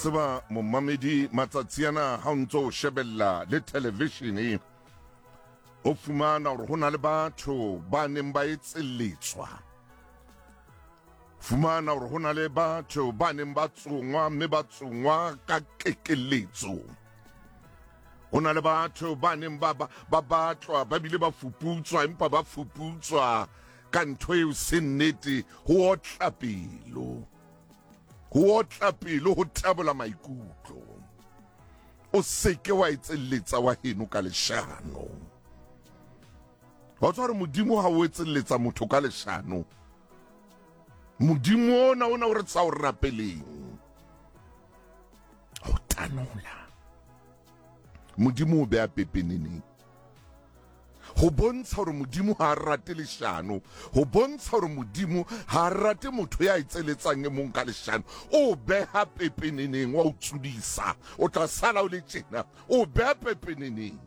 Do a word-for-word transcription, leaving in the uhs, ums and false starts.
Tseba momamedi, matsatsi ana ha o ntso o shebella le televishene, o fumana hore ho na le batho ba neng ba etselletswa, fumana hore ho na le batho ba neng ba tsongwa, mme ba tsongwa ka kekeletso. Ho na le batho ba neng ba ba batlwa, ba bile ba fuputswa, empa ba fuputswa ka ntho eo se nnete. Ho otla pelo, ho otla pelo, ho tabola maikutlo. O seke wa etselletsa wa heno ka leshano. Wa tswa hore Modimo ha o etselletsa motho ka leshano, Modimo ona ona o re tsa o rapeleng, ho tanola Modimo o beha pepeneneng, ho bontsha hore Modimo ha a rate leshano, ho bontsha hore Modimo ha a rate motho ya etseletsang e mong ka leshano. O beha pepeneneng, wa o tsudisa, o tla sala o le tjena, o beha pepeneneng.